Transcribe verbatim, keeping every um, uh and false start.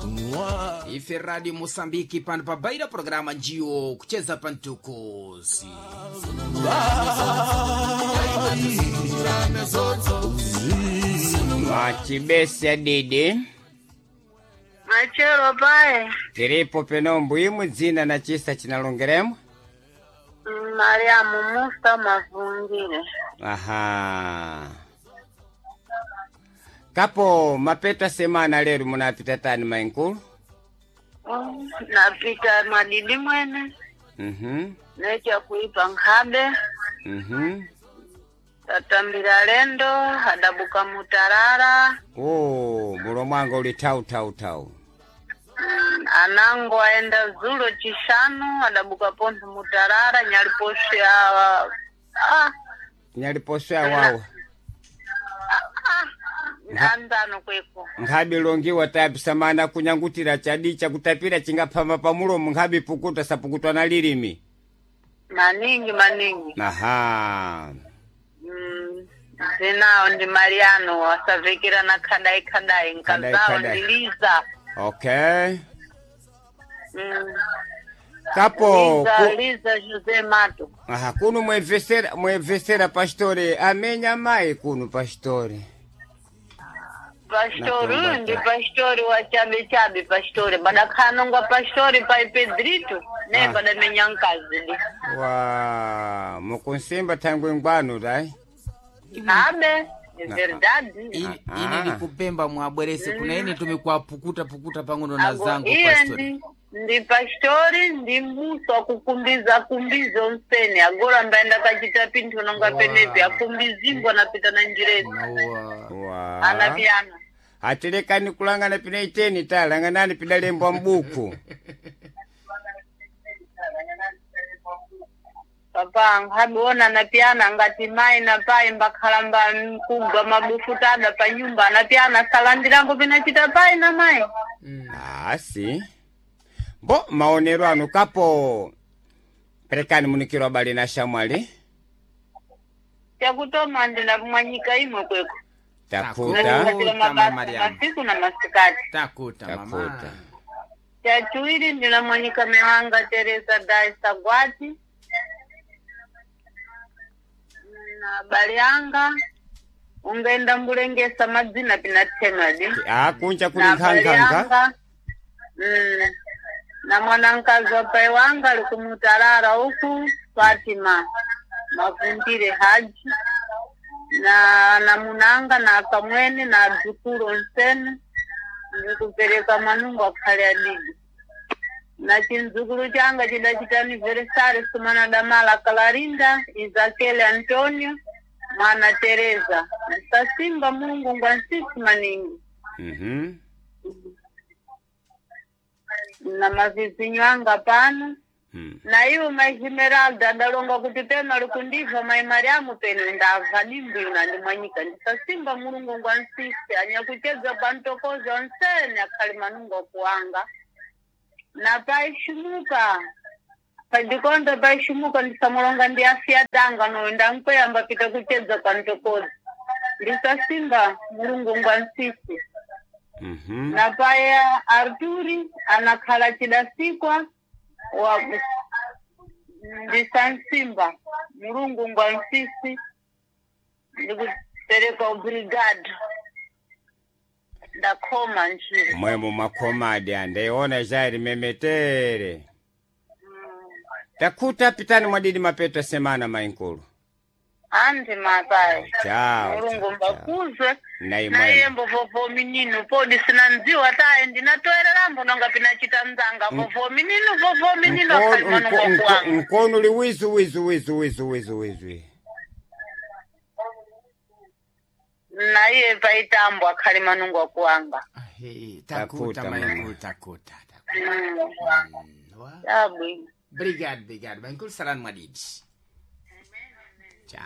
Ife Radio Mosambiki pano pabaira programa njiyo kucheza pantukuzi. Mwachibesa didi Machero pae tiripo penombo imwe dzina na chisa chinalongeremo. Mariamu Musa Mavungire. Aha, kapo mapeta semana lero munapita tani mainkulu? Mm, napita madidi mwene Mhm, necha kuipa nkhabe mhm. tatambira lendo adabuka mutarara. Oh, mulomo wanga uli tau tau tau. Mm, anango aenda zulo chishanu adabuka pontho mutarara nyaliposhe awa ah, Nyaliposwe awawa ah, anzano kweko. nkhabi longiwa tapisamana kunyangutira chadi chakutapira chingaphama pamulomo nkhabi pukuta sapukutwa na lilimi. Maningi maningi. Aha. Mm, zinawo ndi Mariano asavikira na khadai khadai Khadai, nkazawo khadai. ndi Liza. Okay. Mm. Kapo Liza, ku, Liza José Mato. aha, kuno mwevesera mwevesera pastore amenya mai kuno pastore. Pastori Natomba uyu ndi ta. pastori wa chabe chabe pastori badakhanongwa pastori pai Pedrito ne Ah. badamenya nkazi di. Wa mukunsimba thangwe ngwanu dai. Abe, ni verdade. Ine, Ah. ine nikupemba mwabwerese kuna ine tumekwapukuta pukuta pang'ono na Ago, zangu iye pastori. ndi ndi pastori ndi musa wakukumbiza kumbiza onsene agora mbaenda kachita pinthu nonga Wa. penepi akumbizingwa napita na njirezi Nawa. Wa. anapiyana. Atilekani kulangana pina iteni ta langanani pidalembwa mbuku. Papa nkhabiona anapiyana ngati mayi na pai mbakhala mba mkugwa mabufuta ada pa nyumba anapiyana salandirango pinachita pai na mayi. Mm. Asi. Bo maonero anu kapo perekani munikiro abali na shamwali. Chakutoma ndinamwanyika imwe kweko. Takuta. Takuta. Natikatira Mama mabasa Mariamu. masiku na masikati. Takuta mama. Takuta. Chachiwiri ndinamwanyika mewanga Teresa Daisa Gwati na bali anga ungaenda mbulengesa madzina pinathemadi Ah, kunja kuli na bali nkhankhankha. anga mm, na mwanamkazi wa pai wanga ali kumutarara huku Fatima Mavundire Haji na na munanga na akamwene na adzukulu onsene ndikupereka mwanungu akhale adidi na chindzukulu changa chidachita aniversari sumana damala Clarinda Isakele Antonio mwana Teresa sasimba Mulungu ngwa nsisi maningi. Mhm. Na mavizinyo anga pano. Mm. Na iwo mai Esmeralda adalonga kuti peno alikundibva mai Mariamu peno ndabva dimbwina ndimwanyika ndisasimba Mulungu ngwa nsisi anyakuchedza pantokoza onsene akhali manungo akuwanga na paishumuka pandikonda paishumuka ndisamulonga ndi afya danga noyo ndankweyamba pita kuchedza pantokoza ndisasimba Mulungu ngwa nsisi. Mhm. Na paya Arturi anakhala chidasikwa wa ndisansimba Mulungu ngwa nsisi ndikupereka obrigado ndakhoma njira. Mwemo makhomadi andeiona jairi memetere. Takuta pitani mwadidi mapeto semana mainkulu. Andi mapai. Chao. Mulungu chao, chao. mbakuzwe Na naye imwemo. mbovovo mininu podi sinandziwa taye ndinatoererambo nonga pinachita mzanga vovo mininu vovo mininu akhali Nkono manungo nko- nko- kuwanga. nkono uli wizu wizu wizu wizu wizu wizu. Naye paitambo akhali manungo akuwanga. Ahe, takuta Takuta, mama. mainkulu takuta. Takuta. Mm. Mm. Wa. Yabwino. Brigado, brigado. Mainkulu salani mwadidi. Tchau.